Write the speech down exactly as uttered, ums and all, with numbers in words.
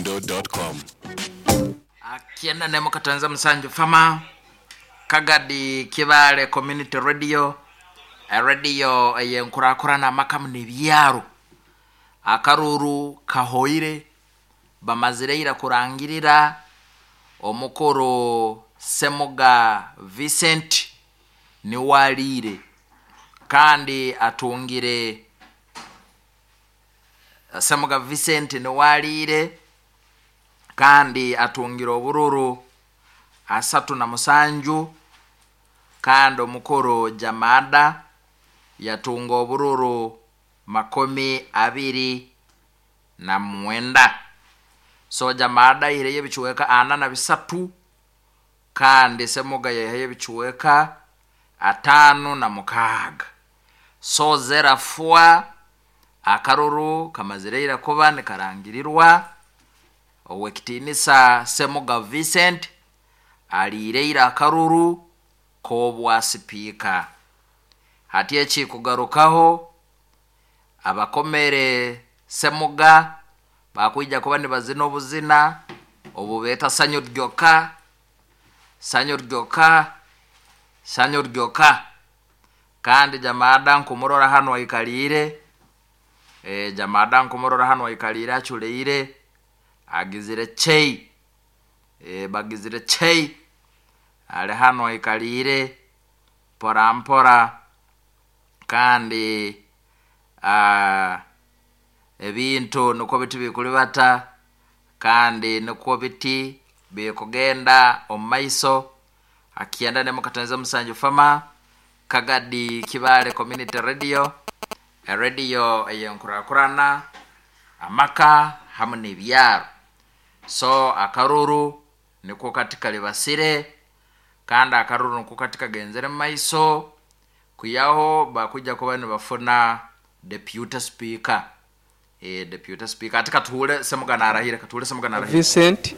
mdundo dot com. Kyenda nemu katanza musanju fama Kagadi Kibale Community Radio, radio eyenkurakurana amakamu n'ebyaro. Akaruru kahoire, bamazire ira kurangirira omukuru Semuga Vincent niwaliire kandi atungire. Semuga Vincent niwaliire kandi atungire obururu asatu na musanju, kandi omukuru Jamada yatunga obururu makumi abiri na mwenda. So Jamada aihireyo ebichweka ana na bisatu, kandi Semuga yaihayo ebichweka atano na mukaaga. So zerafwa akaruru kamazire ira kuba nikarangirirwa, owekitiinisa Semuga Vincent aliire ira akaruru k'obwa sipiika. Hati ekikugarukaho, abakomere Semuga bakwija kuba nibazina obuzina obu beeta sanyu ryoka, sanyu ryoka, sanyu ryoka. Kandi Jamada nkumurora hanu aikaliire, e, Jamada nkumurora hanu aikaliire aculeire, agizire chei, e, bagizire chei, ali hanu aikaliire mpora mpora. Kandi uh, ebintu nikwo biti bikulibata kandi nikwo biti bikugenda omu maiso. Akyenda nemu katanza musanju fama Kagadi Kibale Community Radio, radio eyenkurakurana amaka hamu n'ebyaro. So akaruru nikwo kati kalibasire kandi akaruru nikwo kati kagenzere mu maiso, kuyaho bakujja kuba nibafuna deputy speaker, e, deputy speaker. Ati katuhure Semuga narahire, katuhure Semuga narahire. Vincent.